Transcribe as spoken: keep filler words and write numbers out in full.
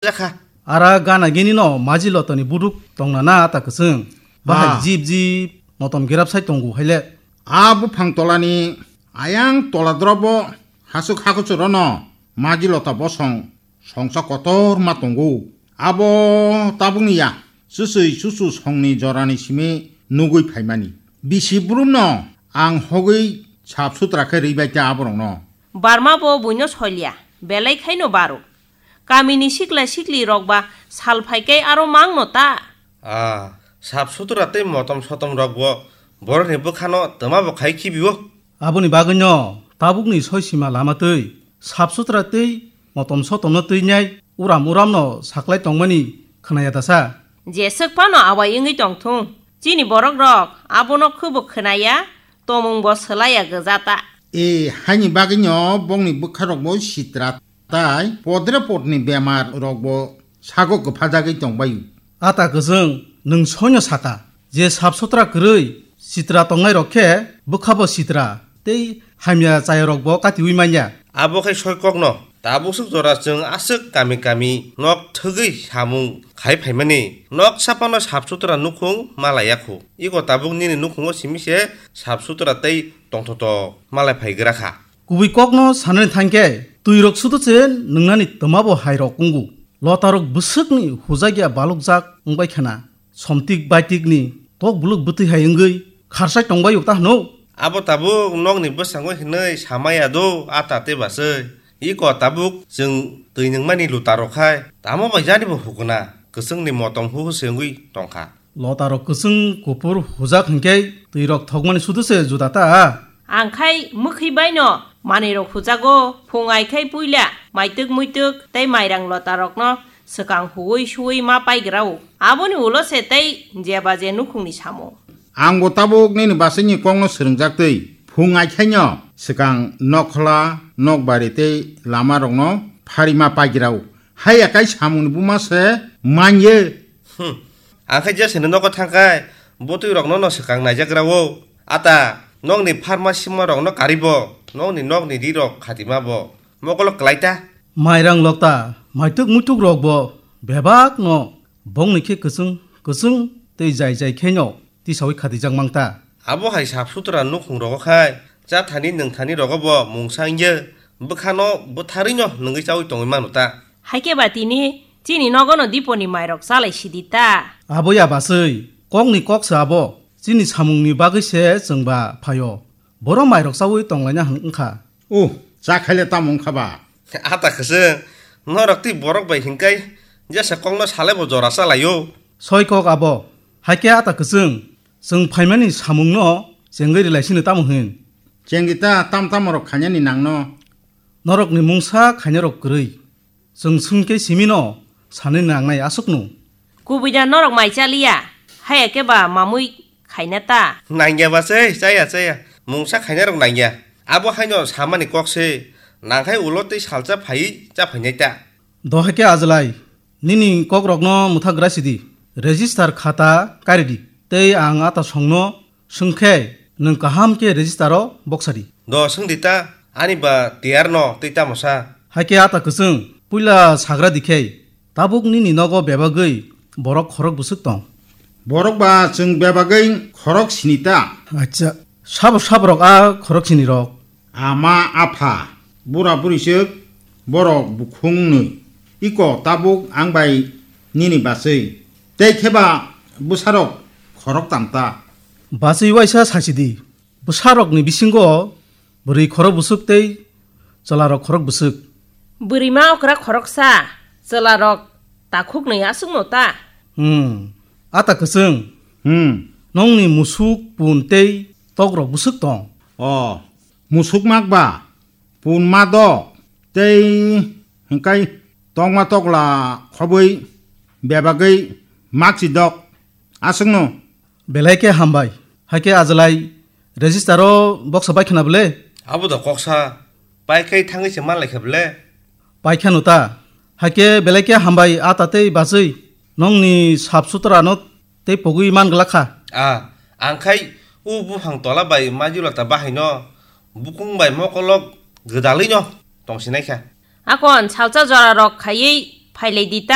jakha. Ara gana gini no maji lotani buduk tongna na ta kwchwng. Bahai Ah. Jib jib motom gerap sai tongo haile. A buphang tolani ayang tola drobo hasuk hakuchuro no maji lota bosong songsa kotor ma tongo. Abo tabukni ya, chusui chuchu songni jorani simi nugui phaimani. Bisi brumno ang hogwi sap sutra khe rwi bai ta aborokno. Barma bo buino soilya, belai khaino baro. Kamini sikla sikli rok ba sal phaikai aro mangno ta. Ah, sap sutra tei motom sotom rok bo borokni bwkhano twma bo khai khibio. Aboni bagwino tabukni soi sima lama twi sap sutra tei motom sotomno twi nai uram uramno saklai tongmani khwnaya dasa. Jeswk phano awai wngwi tongthung. Chini borok rok abono khubo khwnaya, tomung bo swlaiya gwja ta. E, haini bagwino bongni bwkha rok bo sitra tai podre podni bemar rok bo sago kwphajagwi tongbaio. Ata kwchwng, nwng soino saka, je sap sutra kwrwi sitra tongnai rok khe bwkha bo sitra tei hamya chaya rok bo katiwi manya. Abo khai soi kokno, tabuk swk jora chwng aswk kami kami nok thwgwi samung khai phaimani, nok sapano sap sutra nukhung malaiya khu. Iko tabuk nini nukhungo simi se sap sutra tei tongthoto malai phai gra kha. Kubui kokno sanani thangkhe, twi rok sudu se nwngnani twma bo hai rok wngu. Lota rok bwswkni hujakya balukjak wngbai khana. Somtik baitikni tok buluk bwtwi hai wngwi kharsai tongbai uk ta hwno. Abo tabuk nokni bwskango hinwi samaya do a tate baswi. Iko tabuk chwng twi nungmani luta rok khai tamo bai jani bo hukuna kwchwngni motom huhu se wngwi tongkha. Lota rok kwchwng kuphur hujak hinkhe twi rok thokmani sudu se juda ta. Ang khai mwkhwi baino manwi rok hujago, phung ai khai puila maitwk muitwk tei mairang lota rokno swkang huwi suwi ma paigrao. Aboni ulo se tei jeba je nukhungni samo. Ang bo tabuk nini basini kokno swrwngjak twi phung ai khaino swkang nokhola nokbari tei lama rokno phari ma paigrao. Haiya kai samungni buma se manye. Hmm. Ang khe jeseni nogo thangkhai, bwtwi rokno no swkang naijakrao. Ata, nokni pharma sima rokno karibo, nokni nokni ri rok khatima bo. Mokolo kwlai ta. Mairang lokta, maituk muituk rok bo bebak no bongni khe kwchwng, kwchwng tei jai jai khe no tisawi khatijak mang ta. Abo hai sap sutra nukhung rogo khai, cha thani nwng thani rogo bo mungsa wngya, bwkhano bwtharwi no nungwi chawi tongwi mano ta. Haikhe ba tini chini nogono diponi mairok chalai sidi ta. Abo ya baswi, kokni kok se abo, chini samungni bagwi se chwng ba phaio. Boro mairok chawi tonglaina hwn wngkha. Uh, cha khaile tamo wngkha ba? Ata khwswng, norok twi borok bai hinkai jesa kokno salai bo jora chalaio. Soi kok abo, haikhe ata kwchwng, chwng phaimani samungno chengwi rwlai sino tamo hwn? Chengdi ta, tam tamo rok khainani nangno. Norokni mungsa khainarok kwrwi. Chwng swngkhe simino sanwi nangnai aswkno. Kubui da norok mai chaliya, haya khe ba mamui khaina ta. Nangya ba se, chaya, chaya. Mungsa khainarok nangya. Abo haino samani kok se, nangkhai ulo tei salsa phaiwi cha phainai ta. Dohai khe ajlai, nini kokrokno mwthak gra sidi, register khata karidi, tei ang ata songno swngkhe nwng kaham khe register o boksadi. Do swngdi ta, ani ba tiyar no tei tamo sa? Haikhe ata kwchwng, puila sagra dikhai, tabuk nini nogo bebagwi borok khorok bwswk tong? Borok ba chwng bebagwi khorok sini ta. Acha, sabo saborok a khorok sini rok? Ama apha, bura buriswk, borok bukhungnwi. Iko tabuk ang bai nini baswi. Tei kheba bwsarok khorok tamta. Baswi waisa sachidi, bwsarokni bisingo bwrwi khorok bwswk tei chwlarok khorok bwswk. Bwrwima okra khoroksa, chwlarok takhuknwi aswkno ta. Hmm, ata kwchwng. Hmm. Nongni musuk, pun tei tokrok bwswk tong? O, musuk mak ba, pun ma do, tei hingkai tokma tokla khobwi bebagwi mak si dok aswkno. Belai khe hambai. Haikhe ajlai register o boksa bai khna bwle? Abo da koksa. Pai khai thangwi se manlai kha bwle? Pai khano ta. Haikhe belai khe hambai a ta tei bachwi. Nongni sap sutra no tei pogwi man glak kha. A, ang khai u buphang tola bai majula ta bahai no bukung bai mokolok gwdalwi no tongsinai kha. Akon salsa jora rok khaiwi Phailai di ta.